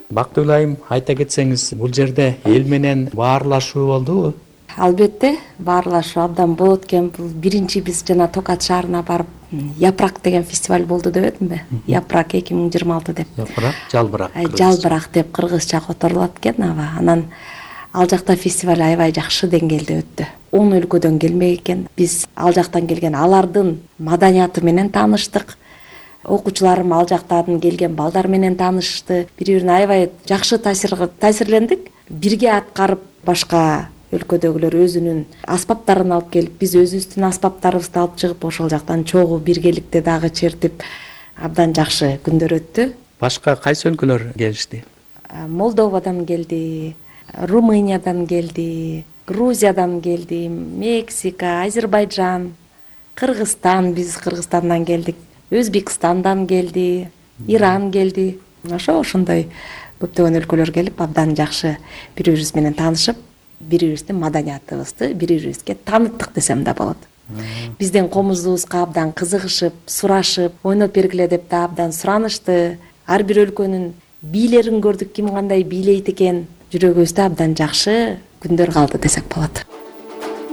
Бактыгүл айым, айта кетсеңиз, бул жерде эл менен баарлашуу болдубу? Албетте, баарлашуу абдан болот экен. Бул биринчи биз жана Токат шаарына барып, Япрак деген фестиваль болду дебедимби? Япрак 2026 деп. Япрак, жалбырак. Жалбырак деп кыргызча которулат экен аба. Анан ал жакта фестиваль аябай жакшы деңгээлде өттү. 10 өлкөдөн келмек экен. Биз ал жактан келген алардын маданияты менен тааныштык. Окуучуларым ал жактан келген балдар менен таанышты. Бири-бирине аябай жакшы таасирлендик. Бирге аткарып башка өлкөдөгүлөр өзүнүн аспаптарын алып келип, биз өзүбүздүн аспаптарыбызды алып чыгып, ошол жактан чогуу биргеликти дагы чертип, абдан жакшы күндөр өттү. Башка кайсы өлкөлөр келишти? Молдовадан келди, Румыниядан келди, Грузиядан келди, Мексика, Азербайджан, Кыргызстан, биз Кыргызстандан келдик, Өзбекстандан келди, Иран келди. Ошондой көптөгөн өлкөлөр келип, абдан жакшы бири-бирибиз менен таанышып, бири-бирибиздин маданиятыбызды бири-бирибизге тааныттык десем да болот. Биздин комузубузга абдан кызыгышып, сурашып, ойноп бергиле деп да абдан суранышты. Ар бир өлкөнүн бийлерин көрдүк, ким кандай бийлейт экен. Жүрөгүбүздө абдан жакшы күндөр калды десек болот.